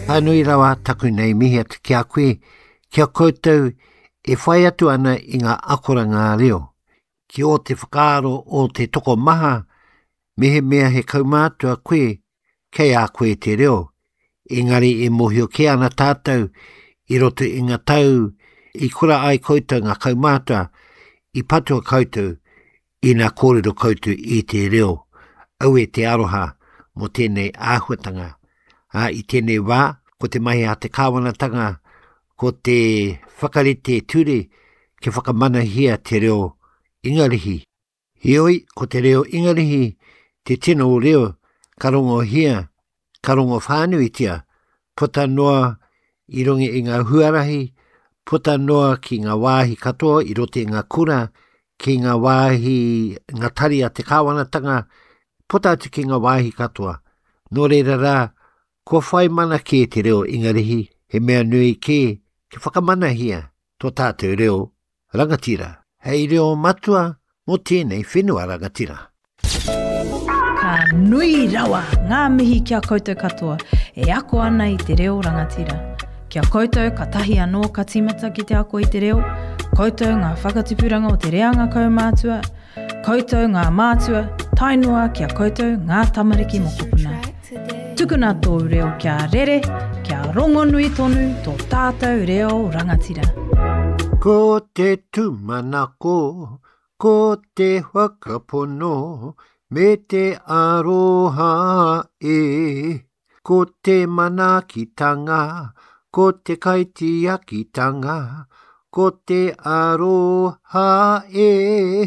Ka nui rawa taku nei mihi atu ki a koe, ki a koutou e whai atu ana i ngā akoranga reo. Ki ō te whakaaro o te tokomaha, mehemea he kaumātua koe, kei a koe te reo. Engari e mōhio kē ana tātou i roto i ngā tau i kura ai koutou ngā kaumātua, i patua koutou Ina kōrero koutou i te reo, aue te aroha mō tēnei āhuatanga. Ā, i tēnei wā, ko te mahi a te kāwanatanga, ko te whakarite ture kia whakamanahia te reo Ingarihi. Heoi, ko te reo Ingarihi te tino reo ka rongohia, ka rongo whānuitia, puta noa i runga i ngā huarahi, puta noa ki ngā wāhi katoa i roto i ngā kura, ki ngā wāhi, ngā tari a te kāwanatanga, puta atu ki ngā wāhi katoa. Nō reira rā, kua whai mana kē te reo Ingarihi, he mea nui kē kia whakamanahia tō tātou reo rangatira hei reo matua mō tēnei whenua rangatira. Ka nui rawa ngā mihi ki a koutou katoa e ako ana i te reo rangatira. Ki a koutou katahi anō ka tīmata ki te ako i te reo, koutou ngā whakatipuranga o te reanga kaumātua, Koutou ngā mātua, tae noa ki a koutou ngā tamariki mokopuna. Tukuna tōu reo kia rere, kia rongonui tonu tō tātou reo rangatira. Ko te tūmanako, ko te whakapono, me te aroha e. Ko te manaakitanga, ko te kaitiakitanga, ko te aroha e.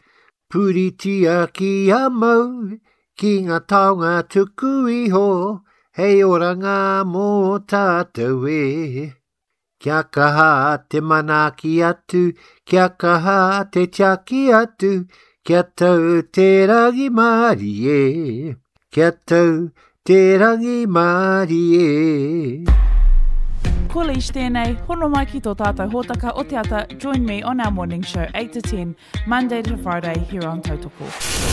Puritia kia mau ki ngā taonga tuku iho hei oranga mō tātou e. Kia kaha te manaaki atu, kia kaha te tiaki atu, kia tau te rangimārie, kia tau te rangimārie. Ko Leish tēnei, hono mai ki tō tātou hōtaka o te ata, join me on our morning show 8 to 10, Monday to Friday here on Tautoko.